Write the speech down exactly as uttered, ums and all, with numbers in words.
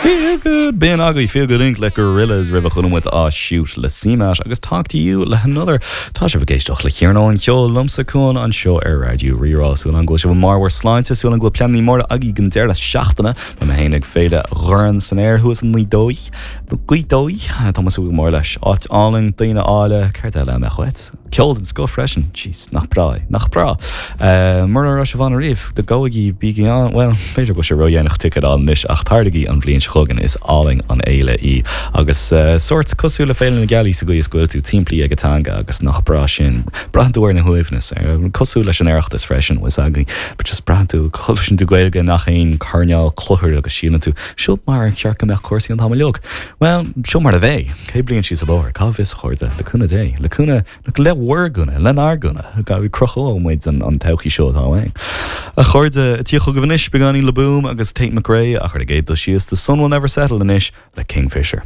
Feel good B'in agaibh Feel Good Inc le Gorillaz roimh a chuala muid Ah Shoot le CMAT agus Talk to You le Another Tá sibh ag éisteacht le Cearnóg an Cheoil liomsa Cuan anseo ar Raidió Rí-Rá súil agam go bhfuil sibh i mbarr bhur sláinte súil agam go bhfuil pleananna móra agaibh don deireadh seachtaine Beidh mé féin ag Féile Dhorn san Aer thuas i nGaoth Dobhair Gaoth Dobhair Tá súil mór leis áit álainn daoine áille céard eile a chuid. Ceol den scoth freisin Jeez, nach breá nach breá. Uh, Mura raibh sibh ann riamh de gabhaigí bígí ann well b'fhéidir go sé ródhéanach ticéad anois ach tarlaigí an bhliain seo chugainn is álainn an fhéile í agus uh, sórt cosúil le Féile na Gealaí sa gcaoi is go bhfuil tú timplí ag an teanga agus nach breá sin braitheann tú ar na huaimhneas ar cosúil leis an Oireachtas freisin was agaí but just braitheann tú cloiseann tú Gaeilge i ngach aon choirnéal cluthair agus síleann tú seo mar cheart go mbeadh cúrsaí an t-am uilig. Well seo mar a bheidh céad bliain síos an bóthar cá bhfios a chairde le cúnamh Dé le cúnamh le bhur gcúnamh lenár gcúnamh cruthóidh muid an an todhchaí seo atá ann. A chairde tí chugaibh anois beagáinín Le Boom agus Tate McRae ach ar an gcéad dul síos The Sun Will Never Settle anois le Kingfisher.